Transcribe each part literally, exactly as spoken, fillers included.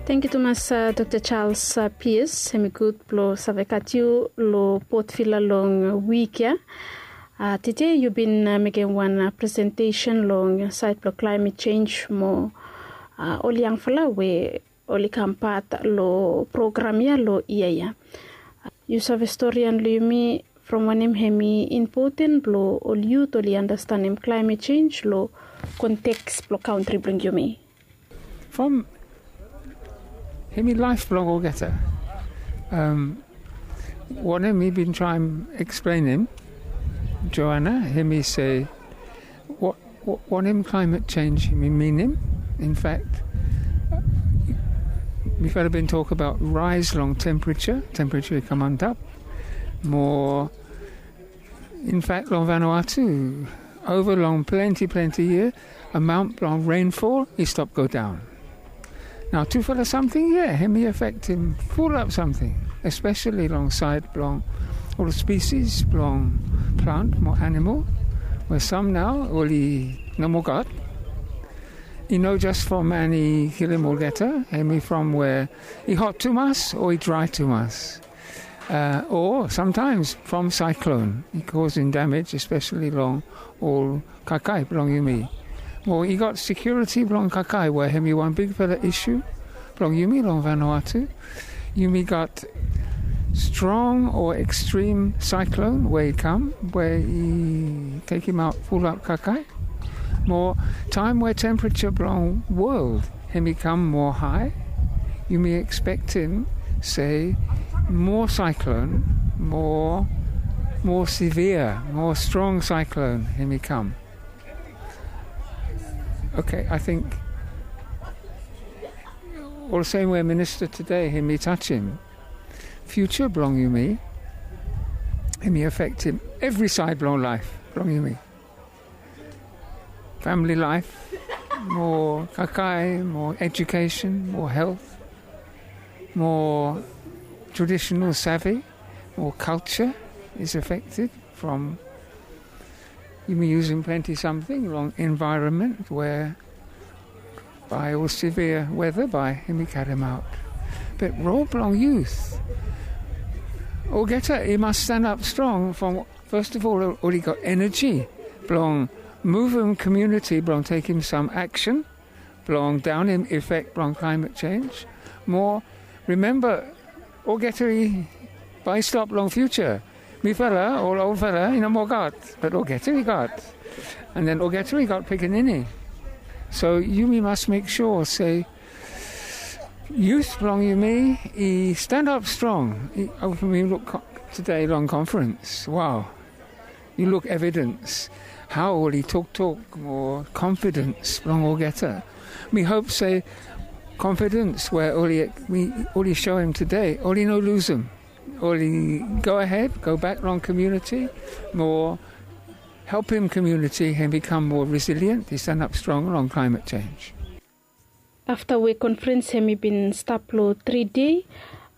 Tangkiu tumas, dokta Charles Pias. Hem i gud blong save gat yu long Port Vila long wik ya. Tede yu bin mekem wan presentesen long saed blong klaemet jenj mo ol yangfala we oli kam pat long program ya long yia ya. Yu save storian long yumi from wanem hem i impoten blong ol yut oli anastenem klaemet jenj long konteks blong kantri blong yumi? From hem i laef blong olgeta. Wanem mi bin traem eksplenem, Joana, hem i se wanem klaemet jenj hem i minim. In fak, mifala bin tok abaot raes long tempereja, tempereja i kam antap mo in fak long Vanuatu ova long plante plante yia, amaon blong renfol i stap godaon. Nao tufala samting ya hem i afektem fulap samting, espeseli long saed blong ol spisis blong plant mo anamol, we sam nao oli no moa gat. I no jes from man i kilim olgeta, hem i from we i hot tumas o i drae tumas. O samtaems from saeklon i kosim damej, espeseli long ol kakae blong yumi. Mo i gat sekiuriti blong kakae we hem i wan bigfala isu blong yumi long Vanuatu. Yumi gat strong o ekstrem saeklon we i kam we i tekemaot fulap kakae. Mo taem we tempereja blong wol hem i kam moa hae, yumi ekspektem se moa saeklon, moa, moa sevia, moa strong saeklon hem i kam. Oke, ating olsem we minista tede hem i tajem, fiuja blong yumi hem i afektem evri saed blong laef blong yumi. Famili laef, mo kakae, mo ejukesen, mo helt, mo tradisenal save, mo kalja is afekted from yumi yusum plante samting long envaeronmen we bae ol sevia weta bae hem i karemaot. Be rol blong yut olgeta i mas stanap strong from fas of ol oli gat eneji blong muvum komuniti blong tekem sam aksen blong daonem efek blong klaemet jenj. Mo rimemba, olgeta i bae i stap long fiuja. Mifala ol olfala i no moa gat, be olgeta i gat. An den olgeta i gat pikinini. So yumi mas mek sua se yut blong yumi i stanap strong. Yumi luk tede long konferens, wao, yu luk evidens hao oli toktok mo konfidens blong olgeta. Mi hop se konfidens we oli soem tede oli no lusum. Oli gohed gobak long komuniti mo helpem komuniti hem i kam moa resilien, i stanap strong long klaemet jenj. Afta we konferens hem i bin stap long tri dei,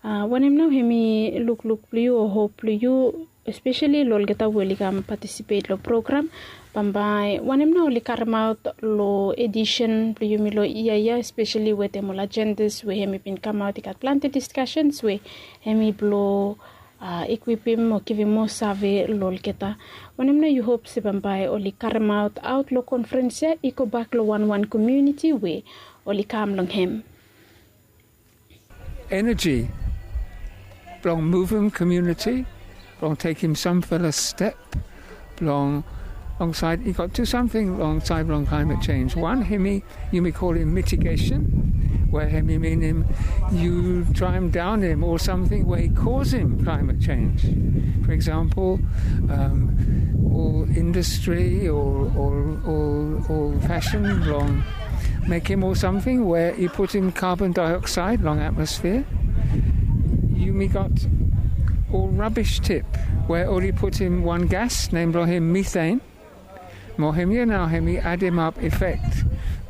wanem nao hem i lukluk blong yu o hop blong yu, espeseli long olgeta we oli kam patisipet long program? Bambae wanem nao oli karemaot long edisen blong yumi long yia ya, espeseli wetem ol ajendas we hem i bin kamaot? I gat plante diskasens we hem i blong ikwipim o givim moa save long olgeta. Wanem nao yu hop se bambae oli karemaot aot long konferens ya i gobak long wanwan komuniti we oli kam long hem? Eneji blong muvum komuniti blong tekem samfala step blong, long saed, i gat tu samting long saed blong klaemet jenj. Wan hem i yumi kolem mitigesen, we hem i minim yu traem daonem ol samting we i kosim klaemet jenj. Fo eksampol, ol indastri o ol fasin blong mekem ol samting we i putum kabon daeoksaed long atmosfia. Yumi gat ol rabis tip we oli putum wan gas nem blong hem miten. Mo hemia nao hem i ademap efek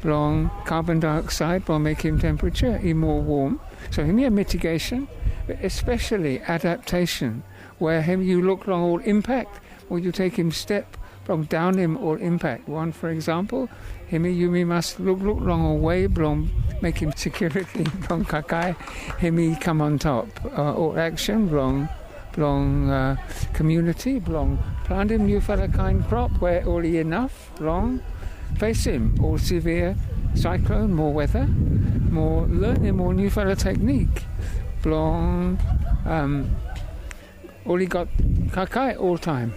blong kabon daeoksaed blong mekem tempereja i moa wom. So hemia mitigesen, be espeseli adaptesen, we hem yu luk long ol impak mo yu tekem step blong daonem ol impak. Wan fo eksampol, hemi yumi mas lukluk long ol wei blong mekem sekiuriti blong kakae hemi kam antap. Ol aksen blong blong komuniti blong plantem niufala kaen krop we oli inaf blong fesem ol sevia saeklon mo weta, mo lanem ol niufala teknik blong oli gat kakae oltaem.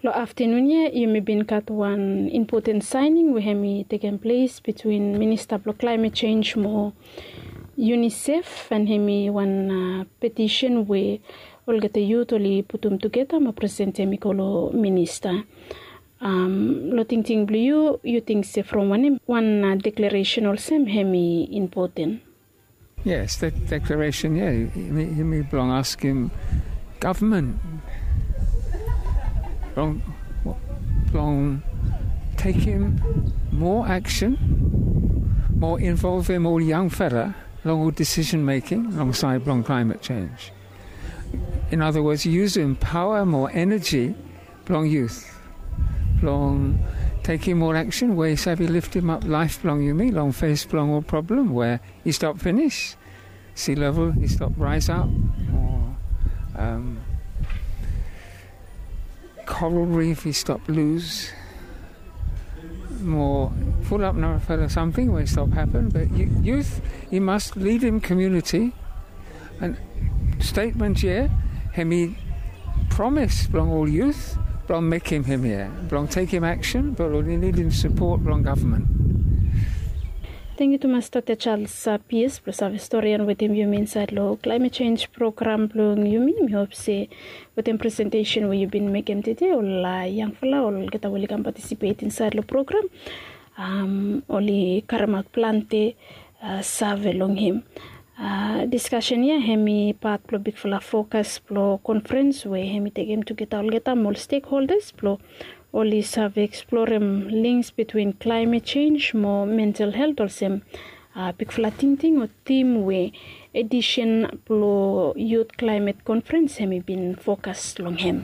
Long aftenun ya yumi bin gat wan impoten saening we hemi tekem ples bitwin minista blong klaemet sens mo unisef, an hemi wan petisen we olgeta yut oli putum tugeta mo presentem i go long minista. Long tingting blong yu, yu ting se from wanem wan deklaresen olsem hemi impoten? Yes, that deklaresen ya, yumi blong askem gavman blong tekem moa aksen, mo involvem ol yangfala long ol disisen meking long saed blong klaemet sens. In other words, yusum paoa mo eneji blong yut blong tekem ol aksen we i save liftemap laef blong yumi long fes blong ol prablem we i stap finis. Sea level i stap raes ap, o koral rif i stap lus, mo fulap narafala samting we i stap hapen. Be yut i mas lidim komuniti. An stetmen ya hemi promes blong ol yut blong mekem hemia blong tekem aksen, be oli nidim sapot blong gavman. Tangkiu tumas Dr Charles Pierce blong save storian wetem yumi insaed long klaemet sens program blong yumi. Mi hop se wetem presentesen we yu bin mekem tede ol yangfala, olgeta we oli kam patisipet insaed long program, oli karimaot plante save long hem. Diskasen ya hemi pat blong bigfala fokas blong konfrens we hemi tekem tugeta olgeta mo ol stekholdas blong oli save eksplorem lings bitwin klaemet sens mo mental helt olsem bigfala tingting o tim we edisen blong yut klaemet konfrens hemi bin fokas long hem.